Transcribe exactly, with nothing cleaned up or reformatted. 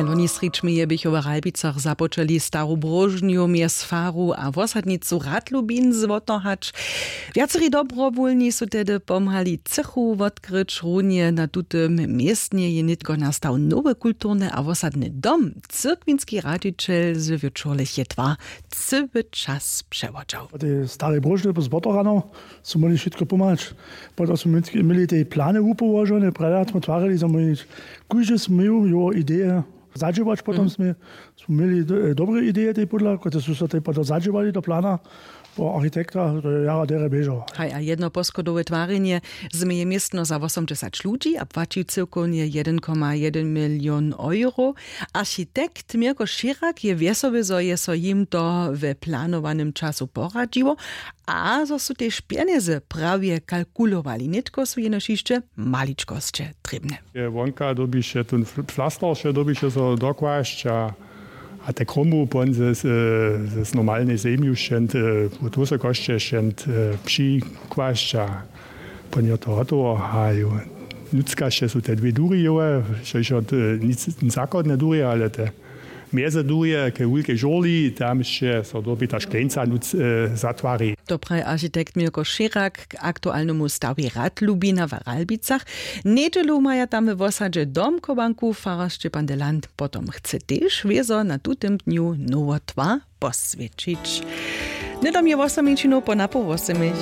Loni srědź meje běchu w Ralbicach započeli staru bróžnju mjez faru a wosadnicu Radlubin zwotohać. Wjaceri dobrowólni su tehdy pomhali cychu wotkryć. Runje na tutym městnje je nětko nastał nowy kulturny a wosadny dom. Cyrkwinski radźićel z wječorlech je twa cyły čas přewodźał. Po tej starej bróžnje z Botorano su móhli wšitko pomhać. Potom su měli tej plany wupołožone, prjada smo twarili, zo móhli kóždy směju jeho ideje zadźěłać. Potom smy smy měli do- dobre ideje tej podla, kotrež su so tej potom zadźěłali do plana po architekta, to je jara derje běžało. Haj, a jedno poschodowe twarjenje změje městno za wosomdźesać ludźi a płaći cyłkownje jedyn koma jedyn milion euro. Architekt Mirko Širak je wjesoły, zo je so jim to we planowanym času poradźiło, a zo su tež pjenjezy prawje kalkulowali, nětko su jenož hišće maličkosće trěbne. Je wonka dyrbiše tón fl- flaster wše dyrbiše so dokłasć a a te kromu pon ze, z, z normalnej zemju šćent, wót wysokosće šćent, přikłasć a pon je to hotowo. A jo, nutřkaše su te dwě durje jowe, štož je nic zachodne durje, ale te mjeze durje ke wulkej žurli, tam sće so dyrbi ta škleńca nutř zatwari. To praji architekt Mirko Šěrak k aktualnemu stawjej Rad Lubina w Ralbicach. Njedźelu maja tam w wosadźe domchowanku. Farar Šćepan Deland potom chce tež wězo na tutym dnju nowo twa poswjećić. Hnydom je wosominčinow po napoł wosomich.